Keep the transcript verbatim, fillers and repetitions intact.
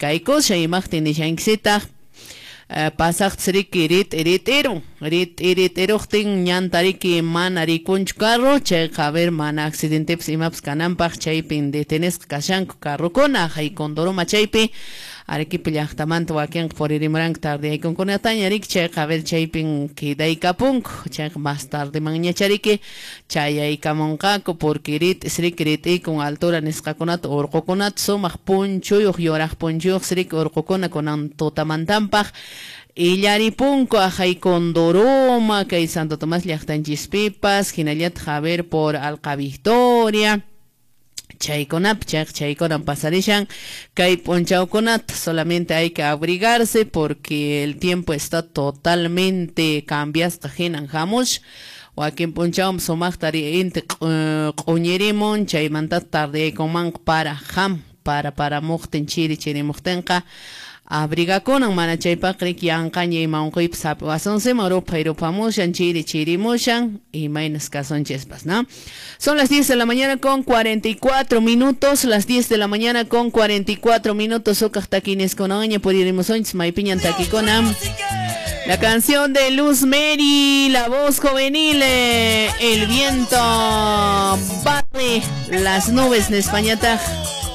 kaykushan imaqtin nishankisitaq pasaqtas riki rit'irit'irun rit'irit'iruqtin ñanta riki mana rikunchu carro chayqa a ver mana accidentepis imapas kananpaq chaypin detenesqa kashanku carrokuna hay Condoroma chaypi Arequipa llaqtamanta wakinqa puririmuranku tardeyaykunkunataña riki chayqa a ver chaypin quedaykapunku chayqa más tardemanñacha riki chayaykamunqaku porque rit'is riki rit'iykun altura nisqakunata urqukunata sumaq punchuyuq yuraq punchuyuq riki urqukuna kunan tutamantanpaq illaripunku ahay Condoroma kay Santo Tomás llaqtanchispipas hinallataq a ver por Alqa Victoria chaykunapi chayqa chaykunan pasarishan kay p'unchawkunata solamente hay que abrigarse porque el tiempo está totalmente cambiasqa hinan hamush wakin p'unchawmi sumaqta inti q'uñirimun chaymanta tardeyaykunmanqa para ham para paramuqtin chiri chirimuqtinqa abrigakunan mana chaypaq riki yanqaña ima unquypas hap'iwasunsiman ruphay ruphamushan chiri chirimushan imaynas kasunchispas, ¿no? Son las diez de la mañana con cuarenta y cuatro minutos, las diez de la mañana con cuarenta y cuatro minutos sukaq takiniskunaña puririmusunchis maypiñan takikuna. La canción de Luz Mary, la voz juvenil, el viento barre las nubes en España.